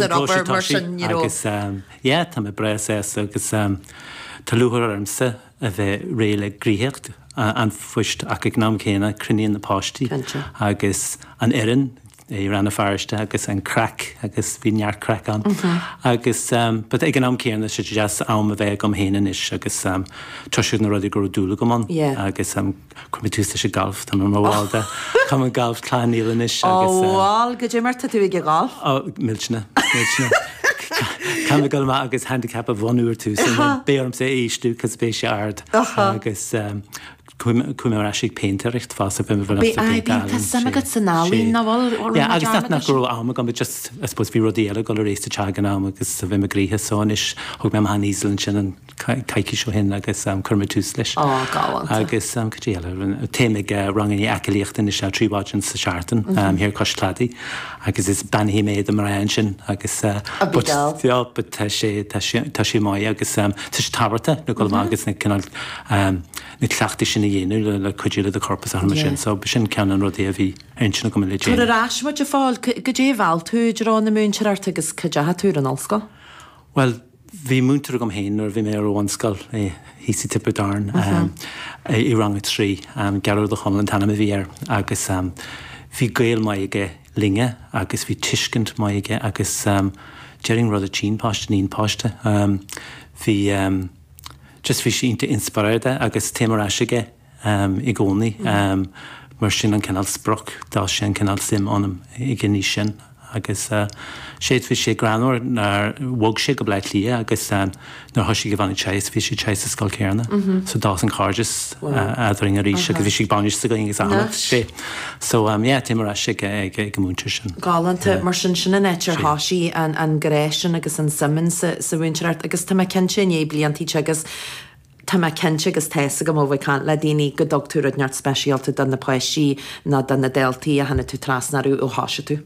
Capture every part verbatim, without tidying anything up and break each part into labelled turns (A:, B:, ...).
A: Ar obair mar sin, you know.
B: Agus yeah, tá mé breá sásta agus tá lúcháir ormsa a bheith réidh le gnoitheacht an phoist ach ag an am céanna cruinníonn na páistí agus an fhoireann i Rann na Feirste agus an craic agus bhí neart craic ann agus but ag an am céanna sé deas am a bheith agam féin anois agus toiseacht na rudaí go raibh dúil agam ann agus chuir mé tús leis an galf, tá mé mar bhall de Cumann Gailf Chlann Néill anois agus.
A: Ó bhuel, goidé mar tá tú ag an ghalf?
B: Ó, millteanach, millteanach. Caithfidh mé dul amach agus handicap a bhunú ar tús and beidh ormsa é a ísliú cos beidh sé ard agus chuaigh mé ar ais ag péintéireacht fosta, bhí mé
A: Bhí, aye, bíonn, tá suim agat san ealaín, nach bhfuil? Bhfuil
B: Yeah,
A: mé
B: agus nach, nach
A: dearmad
B: go raibh am agam, but just, I suppose, bhí rudaí eile ag dul ar aghaidh sa teach ag an am agus bhí mé gnoitheach so anois thóg mé amach an easel ansin an coicís ó shin agus chuir mé tús leis.
A: Ó, galánta.
B: Agus cad é eile, téim ag ranganna aclaíochta anois trí mhaidin sa seachtain thiar cois cladaigh agus is beannaithe mé do mná ansin agus
A: A bhí
B: but
A: geal.
B: yeah, but tá sé, tá sé, tá sé maith agus tá sé tábhachtach le dul amach agus na cineál na cleachtaí sin a dhéanamh le, le cuidiú le do chorp is mar sin. So b'shin ceann de na rudaí a bhí ar intinn agam le
A: Tabhair
B: déanamh.
A: ar ais muid a Phóil, goidé a mheall tú i dtreo na múinteoireachta agus cá ndeachaigh tú ar an ollscoil?
B: Bhuel, bhí múinteoir agam féin nuair a bhí mé ar an bhunscoil thíos i Tiobraid Árann i rang a trí, Gearóid Ó Chonaill an t-ainm a bhí air agus bhí gaol maith aige linne agus bhí tuiscint maith aige agus déarfainn rud a tchíonn páiste níonn páiste. Bhí just bhí sé iontach inspioráideach agus téim ar ais aige i gcónaí mar sin an cineál sprioc, d'fhás sé an cineál suim ionam ag an aois sin agus sé bhí sé greannmhar nuair bhog sé go Bleá Cliath agus nuair thoisigh Yvonne ag teagasc bhí sé ag teagasc sa scoil céanna so d'fhás an cairdeas eadrainn arís agus bhí sé ag bainis againn agus achan sé. So um, yeah, téim ar ais ag ag ag an múinteoir sin.
A: Galánta, mar sin sin an áit ar thosaigh an, an grá sin agus an suim sa, sa mhúinteoireacht agus tá mé cinnte i ndiaidh bliantaí agus tá mé cinnte agus tá a fhios agam ó bheith ag caint le daoine go dtug tú rud neart speisialta do na páistí nó do na daltaí a tháinig tú trasna orthu ó thosaigh tú.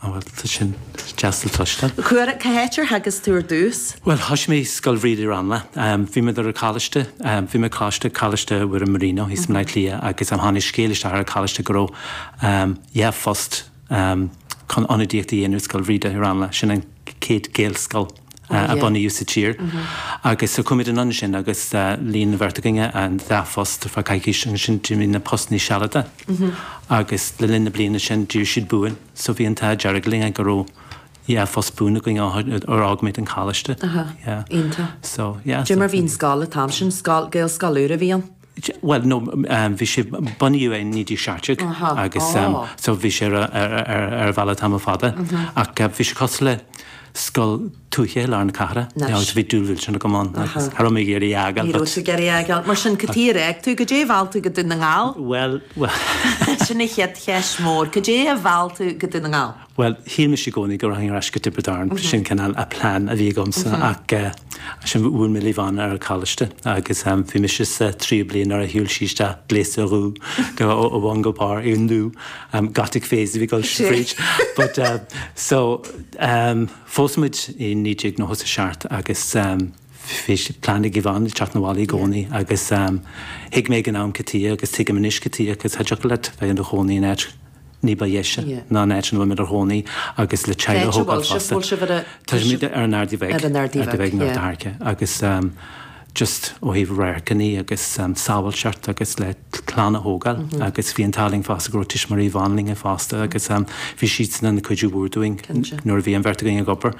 B: Á bhuel, tá sin deas le cloisteáil.
A: Cuair cá háit ar theagasc tú ar dtús?
B: Well, thosaigh mé Scoil Bhríde i Ranelagh. Um, bhí mé ar an choláiste, um, bhí mé coláiste Coláiste Mhuire Marino thíos i mBleá Cliath agus um, tháinig scéal isteach ar an choláiste go raibh um, dhá phost um, chun ionadaíocht a dhéanamh Scoil Bhríde i Ranelagh, sin an chéad Gaelscoil uh, a bunaíodh sa tír. Agus so chuaigh muid anonn sin agus uh, líon na bheirt againne an dá phost ar feadh coicís agus sin d'imigh na postanna sealadacha. Agus le linn na bliana sin d'iarr siad buan, so bhí an t-ádh dearg linn go raibh yeah, phost buan againn ar fhág muid an choláiste.
A: Aha, iontach.
B: So, yeah.
A: Dé mar bhí an scoil an t-am sin, scoil Gaelscoil úr a bhí ann?
B: Well, no, um, bhí sé bunaithe in naoi déag seacht déag
A: Aha,
B: agus um,
A: oh.
B: so bhí sé ar, ar, ar, ar bhealach tamall fada ach uh, bhí sé cosúil le scoil tuaithe i lár na cathrach.
A: Nice.
B: Yeah, agus bhí dúil sin agam ann agus cha raibh mé ag iarraidh é a fhágáil,
A: Ní
B: but-
A: raibh tú ag iarraidh é a fhágáil. Mar sin cad chuige ar fhág tú, goidé a mheall tú go Dún na nGall?
B: Well, well,
A: Sin an chéad cheist mhór, goidé a mheall tú go Dún na nGall?
B: Well, shíl mise i gcónaí go rachainn ar ais go Tiobraid Árann, sin cineál a plean a bhí agamsa ach uh, sin bhuail mé le Yvonne ar an choláiste agus um, bhí mise sa tríú bliain nuair a shiúil sí isteach gléasta dubh go ó ó bhun go barr i ndú um, gothic phase a bhí ag dul fríd. But uh, so um, phós muid i naoi déag nócha a seacht agus um, bhí sé plean ag Yvonne teacht 'na bhaile i gcónaí agus um, thuig mé ag an am cad chuige agus tuigim anois cad chuige agus cha dtiocfadh leat bheith i do chónaí in áit ní ba dheise
A: Yeah.
B: ná an áit ina bhfuil muid inár gcónaí agus le teaghlach
A: Cá
B: a thógáil
A: bhfuil sibh-
B: fosta.
A: bhfuil sibh ar a-
B: Tá muid ar an Ardaí Bheag
A: Ar an Ardaí
B: Ardaí
A: Bheag,
B: Bheag
A: yeah.
B: Harce agus um, just ó thaobh radharcanna agus um, sábháilteacht agus le clann a thógáil mm -hmm. agus bhí an t-ádh linn fosta go raibh tuismitheoirí Yvonne linn fosta agus um, bhí siad ina cuidiú mhór dúinn
A: Cinnte.
B: nuair a bhí an bheirt againn ag obair.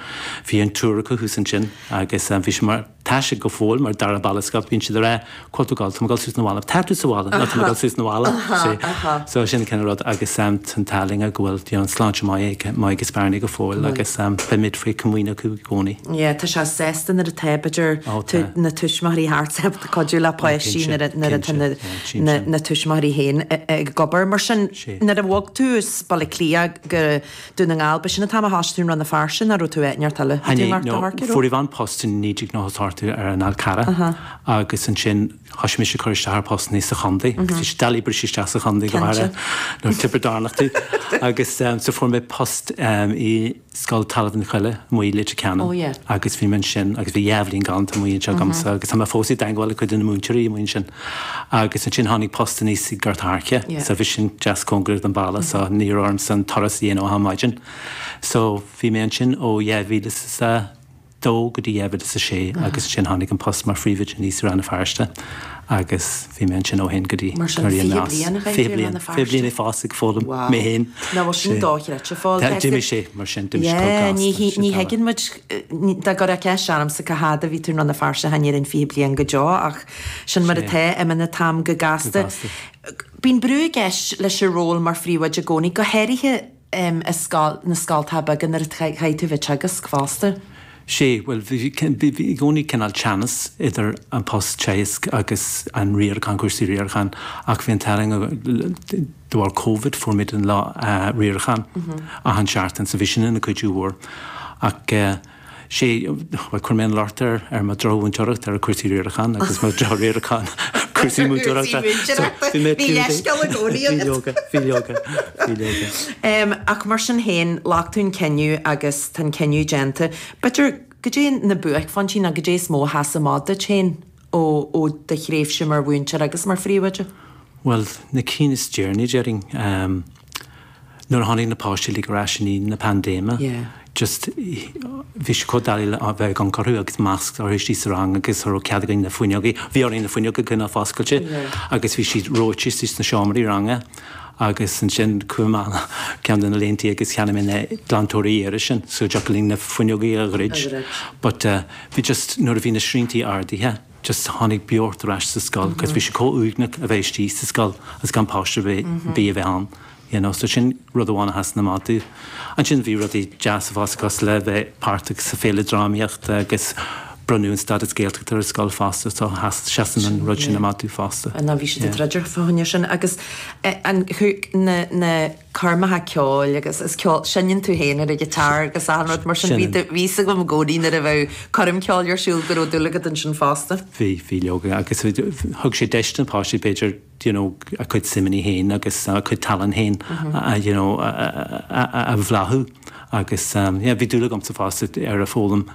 B: Bhí an triúr acu thuas ansin agus um, bhí sé mar tá sé go fóill mar dara baile bíonn siad rá Portugal tá gal suas 'na bhaile tá tú sa bhaile ná tá gal suas 'na bhaile so sin cén rud agus um, an t-ádh linn go bhfuil you know, sláinte maith maith agus Bernie go fóill agus um, beimid faoi chomaoin acu i gcónaí.
A: Yeah, tá sé sásta nuair atá b'fhéidir
B: Ó, tá.
A: na tuismitheoirí thart cuidiú le páistí
B: cinnte,
A: nuair a- nuair atá
B: cinnte,
A: na-
B: yeah, tchím
A: na
B: sin.
A: na tuismitheoirí féin ag obair. Mar sin
B: Sé.
A: nuair a bhog tú as Baile Átha Cliath go Dún na nGall, b'shin an t-am a thosaigh tú i Rann na Feirste nó raibh tú áit neart eile.
B: Hanné,
A: Tú
B: no,
A: Harce,
B: fuair Yvonne post in naoi déag nócha ar an Fhál Carrach agus ansin thosaigh mise cur isteach ar postanna sa chontae agus bhí sé doiligh briseadh isteach sa chontae go
A: Cinnte.
B: háirithe nuair Tiobraid Árannach tú agus um, so fuair mé post um, i Scoil Talamh an Choille amuigh i Leitir Ceanainn
A: Oh, yeah.
B: agus bhí mé ansin agus bhí dhá bhliain galánta amuigh anseo agamsa agus tá mé fós i dteagmháil le cuid de na múinteoirí amuigh ansin. Agus ansin tháinig post aníos i Gort Airce, so bhí sin deas cóngarach don bhaile, so ní raibh ormsa an turas a dhéanamh achan maidin. So bhí mé ansin ó dhá mhíle is a dó go dtí dhá mhíle is a sé agus ansin tháinig an post mar phríomhoide aníos i Rann na Feirste agus bhí mé ansin ó shin go dtí
A: Mar sin fiche bliain a chaith tú i Rann na Feirste?
B: Fiche bliain ag fás ag foghlaim mé féin.
A: Nach bhfuil sin dochreidte Phóil.
B: D'imigh sé mar sin, d'imigh sé chomh gasta.
A: Ní ní thuigeann muid, dá gcuirfeá ceist ormsa cá fhad a bhí tú i Rann na Feirste chan déarfainn fiche bliain go deo ach sin mar atá, imíonn an t-am go gasta. Bíonn brú i gceist leis an ról mar phríomhoide i gcónaí, go háirithe i scoil, na scoltacha beaga nuair a chaithfidh tú bheith ag teagasc fosta.
B: Sé, bhuel, bhí i gcónaí cineál teannas idir an post teagaisc agus an riarachán, cúrsaí riaracháin, ach bhí an t-ádh linn de bharr Covid fuair muid an lá riaracháin achan seachtain so bhí sin ina cuidiú mhór. Ach sé, bhuel, chuir mé an locht ar ar mo dhrochmhúinteoireacht ar chúrsaí riaracháin agus mo dhrochriarachán ar chúrsaí múinteoireachta.
A: Cúrsaí múinteoireachta. Bhí leithscéal i gcónaí agat.
B: Bhí leoga, bhí leoga, bhí leoga.
A: Ach mar sin féin, ghlac tú an cinneadh agus tá an cinneadh déanta. B'fhéidir, goidé na buaicphointí nó goidé is mó a sheas amach duit féin ó ó do thréimhse mar mhúinteoir agus mar phríomhoide?
B: Bhuel, na cinn is deireanaí, déarfainn. Nuair a tháinig na páistí uilig ar ais i ndiaidh na paindéime, just bhí sé chomh doiligh le bheith ag amharc orthu agus masc orthu istigh sa rang agus cha raibh cead againn na fuinneogaí, bhí orainn na fuinneoga a choinneáil foscailte agus bhí siad reoite istigh sna seomraí ranga agus ansin chuaigh mé ceann de na laethanta agus cheannaigh mé na glantóirí aeir sin so dtiocfadh linn na fuinneogaí a dhruid. But bhí just nuair a bhí na sriantaí ardaithe, just tháinig beocht ar ais sa scoil because bhí sé chomh uaigneach a bheith istigh sa scoil agus gan páiste ar bith a bheith ann. You know, so sin rud amháin a sheasann amach domh. Ansin bhí rudaí deasa fosta cosúil le bheith páirteach sa féile drámaíochta agus bronnadh an stádas Gaeltachta ar an scoil fosta so seasann an rud sin amach domh fosta.
A: Ná bhí siad ag troid fá choinne sin agus an na na coirmeacha ceoil agus is ceol seinneann tú féin ar an ghiotár agus achan rud mar sin bhí bhí fhios agam i gcónaí nuair a bheadh coirm ceoil ar siúl go raibh dúil agat ansin fosta.
B: Bhí, bhí leoga agus thug sé deis do na páistí b'fhéidir you know, a cuid suimeanna féin agus a cuid tallann féin a, you know, a, a, a bhláthú agus um, yeah, bhí dúil agamsa fosta ar a foghlaim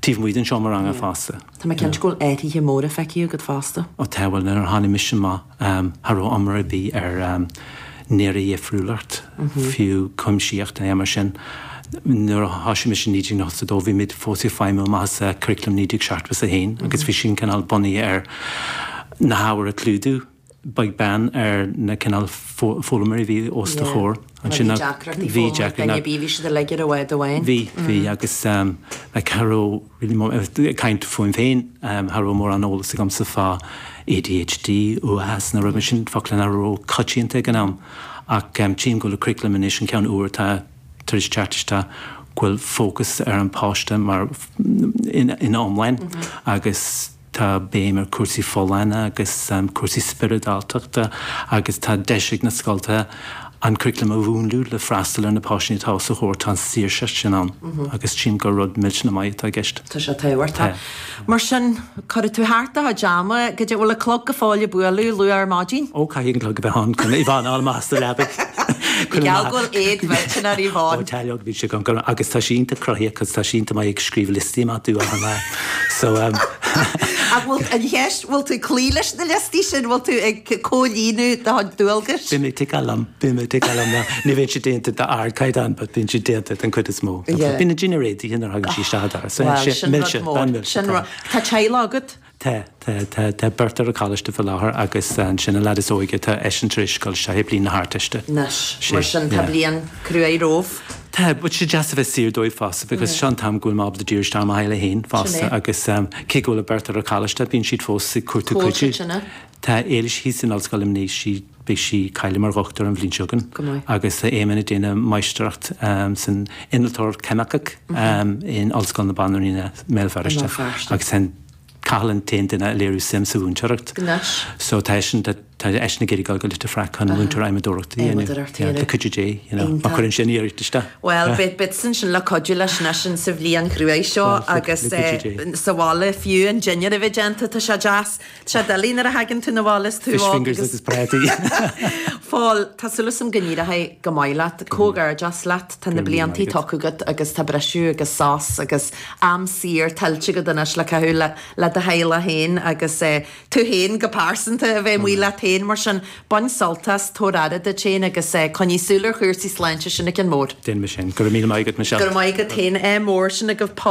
B: taobh amuigh den seomra ranga fosta.
A: Tá mé cinnte go bhfuil athruithe móra feicthe agat fosta.
B: Ó tá, bhuel nuair a tháinig mise amach um, cha raibh iomrá ar bith ar um, néaradhifriúlacht, fiú cuimsitheacht nó mar sin. Nuair a thosaigh mise i naoi déag nócha a dó bhí muid fós ag feidhmiú amach as curriculum naoi déag seachtó a haon agus bhí sin cineál bunaithe ar na hábhair a chlúdú beag beann ar na cineál foghlaimeoirí a bhí os do chomhair.
A: Ansin bhí deacrachtaí
B: bhí
A: foghlama ag duine ar bith, bhí siad uilig ar a bhád amháin.
B: Bhí, bhí agus like cha raibh really ag caint fúm féin, cha raibh mórán eolas agamsa fá ADHD, uathachas nó rud mar sin, focla nach raibh coitianta ag an am. Ach tchím go bhfuil an curriculum anois, an ceann úr atá tar éis teacht isteach, go bhfuil fócas ar an bpáiste mar ina iomláine agus tá béim ar chúrsaí folláine agus cúrsaí spioradáltachta agus tá deis ag na scoltacha an curriculum a mhúnlú le freastal ar na páistí atá os a chomhair, tá an saoirse sin ann agus tchím gur rud millteanach maith atá i gceist.
A: Tá sé tábhachtach. Mar sin, cuirfidh tú thart do chuid ama, goidé, bhfuil an clog go fóill ag bualadh luath ar maidin?
B: Ó, caithfidh an clog a bheith ann chun Yvonne a fháil amach as a leabaidh.
A: Gheall go bhfuil éad mhillteanach ar Yvonne.
B: Ó, tá leoga, bhí sé agam go raibh, agus tá sí iontach cruthaíoch agus tá sí iontach maith ag scríobh liostaí amach domh achan lá. So, um.
A: Ach bhfuil, an cheist, bhfuil tú ag cloí leis na liostaí sin, bhfuil tú ag comhlíonadh do chuid dualgais?
B: Bím ag ticeáil liom, bím ag ticeáil liom. Ná, ní bhíonn siad déanta d'ardchaighdeán, but bíonn siad déanta den chuid is mó.
A: Yeah.
B: Bíonn an dinnéar réitithe nuair a thagann sí isteach an doras. So,
A: Bhuel,
B: sin
A: sin rud
B: milse,
A: mór.
B: bean milse,
A: Sin
B: tá.
A: rud. Tá teaghlach agat?
B: Tá, tá, tá, tá beirt ar an choláiste faoi láthair agus ansin an leaid is óige, tá eisean tar éis dul isteach i bliain na hArdteiste.
A: Anois,
B: Sé,
A: mar sin tá
B: yeah.
A: bliain cruaidh romhaibh.
B: Tá, but sé deas a bheith saor dóibh fosta because seo an t-am go bhfuil mé ábalta díriú isteach ar mo theaghlach féin
A: Sin
B: fosta
A: é.
B: agus cé go bhfuil an beirt ar an choláiste bíonn siad fós ag cuartú
A: Cá bhfuil
B: cuidiú.
A: siad sin, eh?
B: Tá Éilis thíos in Ollscoil Luimnigh, sí, beidh sí cáilithe mar dhochtúir an bhliain seo chugainn
A: Go maith.
B: agus tá Éamonn ag déanamh máistreacht san innealtóireacht cheimiceach in Ollscoil na Banríona i mBéal
A: I
B: Feirste
A: mBéal Feirste.
B: agus tá Cathal an t-aon duine a léirigh suim sa mhúinteoireacht.
A: Anois.
B: So tá eisean, tá Tá eisean ag iarraidh dul go Leitir Fraic chun múinteoir adhmadóireachta a dhéanamh. Le cuidiú Dé, you know, má chuireann sin iarracht isteach.
A: Bhuel, beidh beidh ansin le cuidiú leis anois sa bhliain chruaidh seo agus sa bhaile fiú an dinnéar a bheith déanta, tá sé deas. Tá sé doiligh nuair a thagann tú 'na bhaile is tú
B: Fish fingers agus prátaí.
A: Phóil, tá súil agam go n-éireoidh go maith leat, comhghairdeas leat, tá na bliantaí tugtha agat agus tá briseadh agus sos agus am saor tuillte agat anois le caitheamh le le do theaghlach féin agus tú féin go pearsanta a bheith amuigh leat féin mar sin bain sult as, tabhair aire duit féin agus coinnigh súil ar chúrsaí sláinte sin an ceann mór.
B: Déanfaidh mé sin. Go raibh míle maith agat, Michelle.
A: Go raibh maith agat féin, ádh mór sin agaibh Paul.